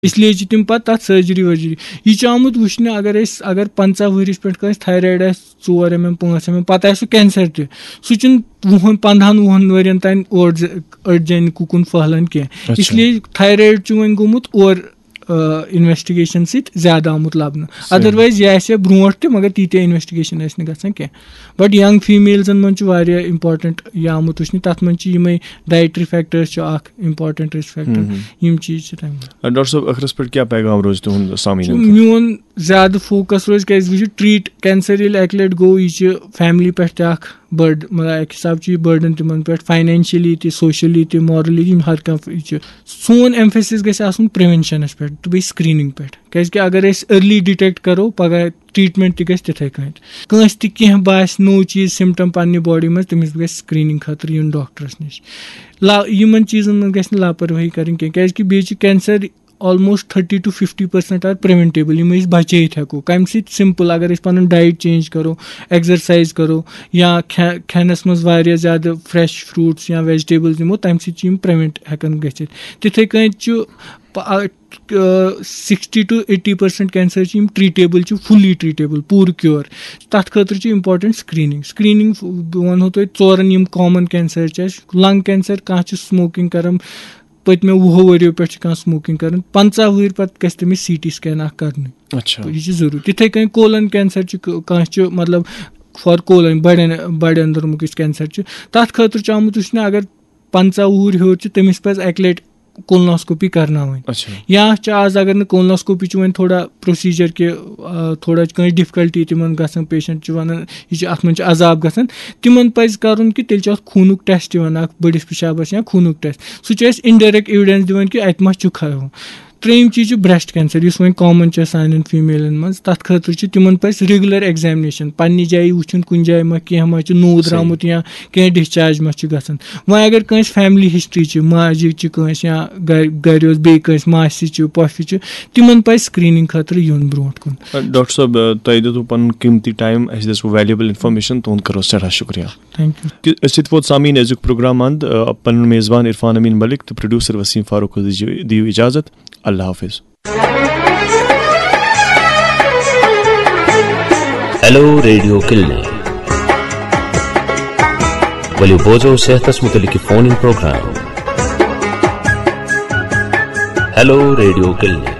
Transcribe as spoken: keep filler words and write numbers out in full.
اس لیے چھِ تِم پَتہٕ تَتھ سرجری ورجری۔ یہِ چھُ آمُت وٕچھنہٕ، اگر أسۍ اگر پنٛژاہ ؤہرِس پٮ۪ٹھ کٲنٛسہِ تھایرایڈ آسہِ، ژور ایم ایم، پانٛژھ ایم ایم، پَتہٕ آسہِ سُہ کینسر تہِ، سُہ چھُنہٕ وُہن پنٛدہن وُہن ؤرین تام اورٕ ز- أڈۍ جانہِ کُکُن پھٔہلان کینٛہہ۔ اس لیے تھایرایڈ چھُ وۄنۍ گوٚمُت اورٕ انویسٹیگیشن سۭتۍ زیادٕ آمُت لبنہٕ۔ ادروائز یہِ آسہِ ہا برونٛٹھ تہِ، مگر تیٖتیٛاہ انویسٹیگیشن ٲسۍ نہٕ گژھان کینٛہہ۔ بٹ ینگ فیمیلزن منٛز چھُ واریاہ امپورٹنٹ یہِ آمُت وٕچھنہٕ، تتھ منٛز چھِ یِمے ڈایٹری فیکٹرز چھِ اکھ امپورٹنٹ رسک فیکٹر۔ یِم چیٖز چھِ تمہِ ڈاکٹر صٲب، ٲخرس پٮ۪ٹھ کیٛاہ پیغام روزِ تُہُنٛد سامعیٖنن خٲطرٕ؟ میون زیادٕ فوکس روزِ، کیازِ وٕچھِو، ٹریٹ کینسر ییٚلہِ اکہِ لٹہِ گوٚو، یہِ چھِ فیملی پٮ۪ٹھ تہِ اکھ بٔڑ، مطلب، اکہِ حساب چھُ یہِ بٔرڈن تِمن پٮ۪ٹھ، فاینانشلی تہِ، سوشلی تہِ، مورلی تہِ، یِم ہر کانٛہہ یہِ چھُ۔ سون ایمفیسس گژھِ آسُن پریونشنس پٮ۪ٹھ تہٕ بیٚیہِ سکریننگ پٮ۪ٹھ، کیازِ کہِ اگر أسۍ ارلی ڈِٹیکٹ کرو، پگاہ ٹریٹمنٹ تہِ گژھِ تِتھے کٔنۍ۔ کٲنٛسہِ تہِ کینٛہہ باسہِ نوٚو چیٖز، سمٹم پننہِ باڈی منٛز، تٔمِس گژھِ سکریننگ خٲطرٕ یُن ڈاکٹرس نِش۔ لا یِمن چیٖزن منٛز گژھِ نہٕ لاپرواہی کرٕنۍ کینٛہہ، کیازِ کہِ بیٚیہِ چھِ cancer almost thirty to fifty percent are preventable، یِم أسۍ بچٲیِتھ ہٮ۪کو۔ کمہِ سۭتۍ؟ سمپل، اگر أسۍ پنُن ڈایٹ چینج کرو، ایکزرسایز کرو، یا کھے- کھٮ۪نس منٛز واریاہ زیادٕ فریش فروٹس یا ویجٹیبلز نِمو، تمہِ سۭتۍ چھِ یِم پریونٹ ہٮ۪کان گٔژھِتھ۔ تِتھے کٔنۍ چھُ sixty to eighty percent cancer چھِ یِم ٹریٹیبل چھِ، فُلی ٹریٹیبل، پوٗرٕ کیور۔ تتھ خٲطرٕ چھِ امپورٹنٹ سکریننگ۔ سکریننگ بہٕ ونہو تۄہہِ ژورن یِم کامن کینسر چھِ اَسہِ۔ لنگ کینسر، کانٛہہ چھُ سموکنگ کران، پٔتمیو وُہو ؤریو پٮ۪ٹھ چھِ کانٛہہ سموکنگ کران، پنٛژاہ وُہٕرۍ پتہٕ گژھِ تٔمِس سی ٹی سکین اکھ کرنہٕ۔ اچھا۔ یہِ چھِ ضروٗری۔ تِتھے کٔنۍ کولن کینسر چھُ، ک- کانٛہہ چھُ، مطلب، فار کولن، بڑٮ۪ن بڑِ أنٛدرمُک یُس کینسر چھُ، تتھ خٲطرٕ چھُ آمُت وٕچھنہٕ، اگر پنٛژاہ وُہُر ہیوٚر چھُ، تٔمِس پزِ اکہِ لٹہِ کولناسکوپی کرناوٕنۍ۔ اچھا۔ یا چھِ آز، اگر نہٕ کولناسکوپی چھُ وۄنۍ تھوڑا پروسیجر کہِ آ، تھوڑا چھِ کٲنٛسہِ ڈفکلٹی تِمن گژھان، پیشنٹ چھُ ونان یہِ چھُ، اتھ منٛز چھُ عذاب گژھان، تِمن پزِ کرُن کہِ تیٚلہِ چھُ اتھ خوٗنُک ٹیسٹ یِوان اکھ بٔڑِس پِشابس یا خوٗنُک ٹیسٹ، سُہ چھُ اَسہِ انڈایریکٹ ایویڈنس دِوان کہِ اتہِ ما چھُ خراب۔ ترٛیٚیِم چیٖز چھُ بریسٹ کینسر، یُس وۄنۍ کامن چھُ سانٮ۪ن فیمیلن منٛز۔ تتھ خٲطرٕ چھُ تِمن پزِ ریگولر ایگزامنیشن، پننہِ جایہِ وٕچھُن کُنہِ جایہِ ما کینٛہہ ما چھُ نوٗد درٛامُت یا کینٛہہ ڈسچارج ما چھُ گژھان۔ وۄنۍ اگر کٲنٛسہِ فیملی ہسٹری چھِ، ماجہِ چھِ کٲنٛسہِ یا گرِ گرِ اوس بیٚیہِ کٲنٛسہِ ماسہِ چھِ، پۄپھِ چھِ، تِمن پزِ سکریننگ خٲطرٕ یُن برونٛٹھ کُن۔ ڈاکٹر صٲب، تۄہہِ دیُتوٕ پنُن قۭمتی ٹایم، اسہِ دِژوٕ ویلیوبل انفارمیشن، تُہُنٛد کرو سٮ۪ٹھاہ شُکریہ۔ Thank U. تہٕ أسۍ سۭتۍ ووت سامعیٖن أزیُک پروگرام اند۔ آ، پنُن میزبان عرفان امین ملک تہٕ پروڈیوسر وسیم فاروق حٲضی جی، دِیِو اجازت۔ اللہ حافظ۔ ہیلو ریڈیو کلنک۔ ؤلِو بوزو صحتس متعلق فون ان پروگرام۔ ہیلو ریڈیو کلنک۔